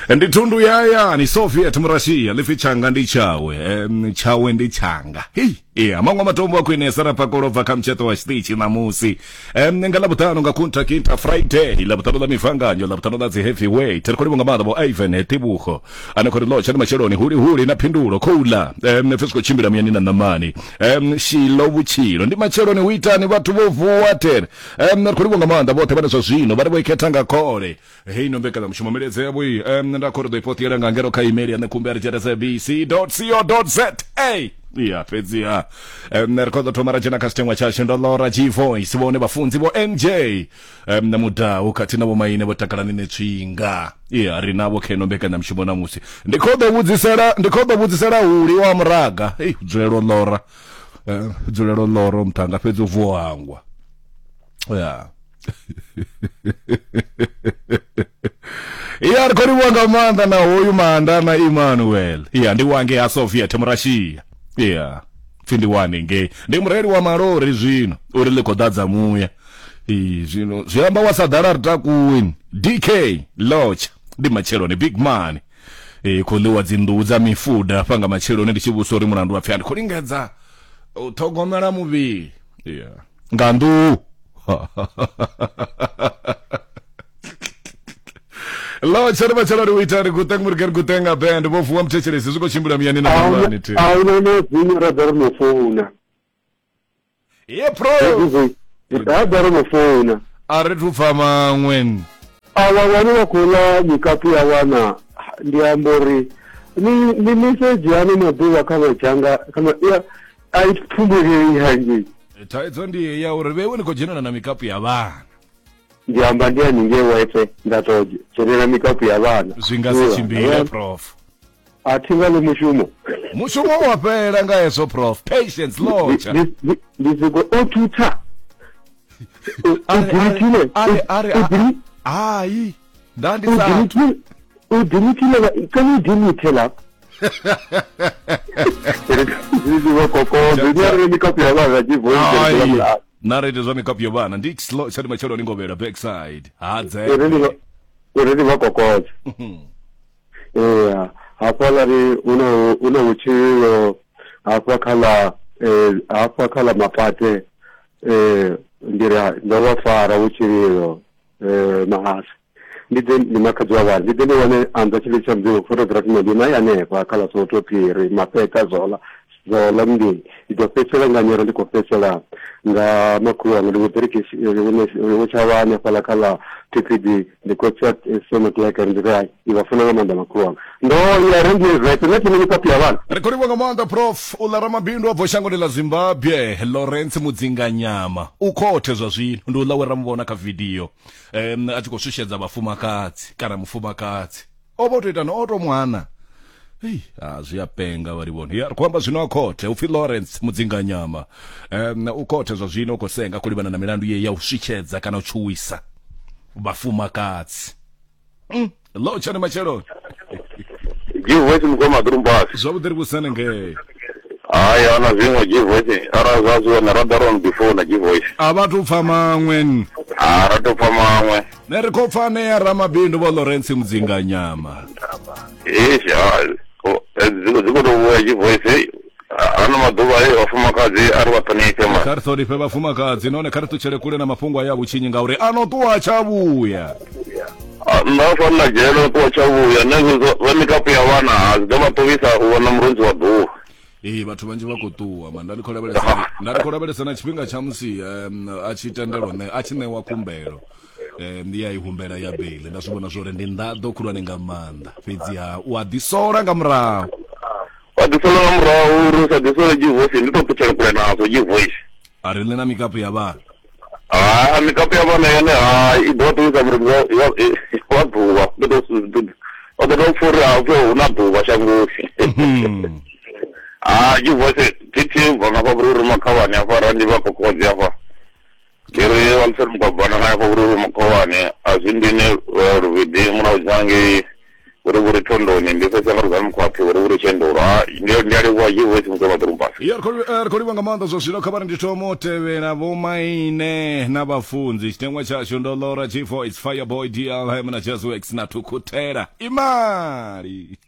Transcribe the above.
Ndi thundu ya hayani Soviet Murashia ḽi tshanga ndi tshawe, tshawe ndi tshanga. Hei, iya maṅwe matombo a khwinesa ra pakola bva kha mutsheṱo wa tshiṱitshi ṋamusi. Nga Ḽavhuṱanu nga Kunta Kinta Friday, Ḽavhuṱanu ḽa mivanganyo, Ḽavhuṱanu ḽa dzi heavyweight. Ri khou livhuwa nga maanḓa vho Ivan Tebogo ane khou ri lotsha ndi matsheloni huli huli na phindulo khouḽa. Pfi zwi khou tshimbila muyani na ṋamani. Shilo vhutshilo ndi matsheloni hu itani vhathu vho vuwa tere. Ri khou livhuwa nga maanḓa vhoṱhe vhane zwa zwino vha ri vho i khetha nga khole. Heyi no mbekanyamushumo milaedza yavho iyi nda khou ri ḓo i poṱiela nga ngeno kha email ya ṋekhumbi a ri sabc co za. Ya fhedziha ri khou ḓo thoma ra dzhena kha tshiteṅwa tshashu ndo lora G Voice vhone vhafunzi vho NJ na Mudau khathihi na vhomaine vho Takalani Netswinga. Ya ri navho kha ino mbekanyamushumo ṋamusi. Ndi khou ḓo vhudzisela ndi khou ḓo vhudzisela huli wa muraga. Hei dzulelo lora. Dzulelo lora muṱhanga fhedzi u vuwa hangwa. Ya. Ya ri khou livhuwa nga maanḓa na hoyu maanda na Emmanuel. Ya ndi wange ha Soviet Murashia. Ya pfi ndi wane ngei ndi mureili wa malori zwino uri ḽi khou ḓadza muya. Ee, zwino zwi amba wa sa ḓala ri takuwi. DK Lodge ndi matsheloni big man. Ee, khou ḽiwa dzi nḓuhu dza mifuda hafha nga matsheloni ndi tshi vhusa uri mulandu wa pfi a ndi khou lingedza u ṱhogomela muvhili. Ya nga nḓuhu. Lo tshere matshelo ri uita ri guteng muri gutenga band vho vuwa muthetshelesi zwi khou tshimbila muyani na ḓuvhani thi. A huna no dzinyo ra ḓa ri no founa. Ye pro. Ra ḓa ri no founa. A ri thu pfa maṅwe. Avha vhane vha khou ḽa mikapu ya vhana ndi amba uri ni ni mesedzhi ano maḓuvha kha madzhanga kha ma a i pfumbulei hangei. Thaidzo ndi ya uri vhewe ni khou dzhenela na mikapu ya vhana. Ndi amba ndi haningei wife nda to dzhenela mikapu ya vhana. Zwi nga si tshimbile prof. A thi nga ḽi mushumo. Mushumo wa fhela nga hezwo prof. Patience lotsha. Ndi siko o thutha. U dilithile. Ari ari hai. Nda ndi sa. U dilithile can you delete lapha? Na ri ite zwa mikapu ya vhana ndi slow tsha ndi matshelo ni ngovhela backside hadze uri ndi vha kokodza. Ee, hafhaḽa ri una una vhutshilo hafha kha ḽa hafha kha ḽa mapate ndi ri ndo vha fara vhutshilo mahasa. Ndi ḓe ndi makhadzi wa vhana ndi ḓe ndi wane anza tshililo tsha mudzimu photography ndi na hanefha kha ḽa Soweto Phiri Mapeta Zola Zola ndi ndi ḓo fhedzisela nga nyoro ndi khou fhedzisela nga makhulu wanga ndi vho Ḓirikisi vho tshavha hanefhaḽa kha ḽa TPD ndi khou tsa Semotleke ndi ri hai ndi vha funa nga maanḓa makhulu wanga ndo ya ri ndi zwe nṋe thi mikapu ya vhana. Ri khou livhuwa nga maanḓa prof uḽa ramabindu a bvaho shangoni ḽa Zimbabwe Lawrence Mudzinganyama u khothe zwa zwino ndi uḽa we ra mu vhona kha video a tshi khou shushedza vhafumakadzi kana mufumakadzi o vha o tou ita no o tou mwana. Ei, a zwi a penga vha livhona. Ya ri khou amba zwino a khothe upfi Lawrence Mudzinganyama. U khothe zwa zwino u khou senga khou livhana na milandu ye ya u switshedza kana u tshuwisa vhafumakadzi. Lotsha ni matsheloni. G-Voice mukoma ḓurumbasi. Zwavhuḓi ri vhusane ngei. Hai ana zwiṅwe G-Voice ara zwa zwi hone ra ḓa ro before na G-Voice. A vha tou pfa maṅwe. Ha ra tou pfa maṅwe. Ne ri khou pfa anea ramabindu vho Lawrence Mudzinganyama. Eish ha dzi khou tou vhuya G-Voice ano maḓuvha e vhafumakadzi a ri vha ṱhonifhe ma. Kha ri ṱhonifhe vhafumakadzi nahone kha ri ṱutshele kule na mafhungo aya a vhutshinyi ngauri a no ṱuwa tsha vhuya. Nda fana na dzhele ṱuwa tsha vhuya nṋe zwa mikapu ya vhana a zwi ḓo vha ṱuwisa u vhona murunzi wa ḓuvha. Ee, vhathu vhanzhi vha khou ṱuwa ma nda ndi khou lavhelesa nda ndi khou lavhelesa na tshifhinga tsha musi a tshi tendelwa ṋe a tshi ṋewa khumbelo ndi ya i humbela ya beiḽi nda zwi vhona zwori ndi nḓaḓo khulwane nga maanḓa fhedziha u a ḓisola nga murahu. Wa ḓisola nga murahu uri u sa ḓisole G-Voice ndi tou ṱutshela kule nazwo G-Voice. A ri ḽi na mikapu ya vhana. Ha mikapu ya vhana yone ha i ḓo ṱuwisa murunzi wa ḓuvha ḓo ḓo tou pfha uri hafho hu na ḓuvha shangoni. Ha G-Voice thi thi bva nga hafha vhururu makhavhani hafha ra ndi vha kokodzi hafha. Ndi ri vha ntseri mugwabana nga hafha vhururu makhavhani a zwi ndini luvhidi murahu dzhangei. Vhuri vhuri thondoni ndi fhedza nga lugano mukhwaṱhi vhuri vhuri tshendolo. Ha ndi ndi a livhuwa G-Voice muthu wa ḓorobani. Ya ri khou livhuwa nga maanḓa zwa zwino kha vha ri ndi thoma u tevhela vhomaine na vhafunzi tshiteṅwa tshashu ndo lora G-Voice Fireboy DLM na Jazzworks na Thukhutela imali.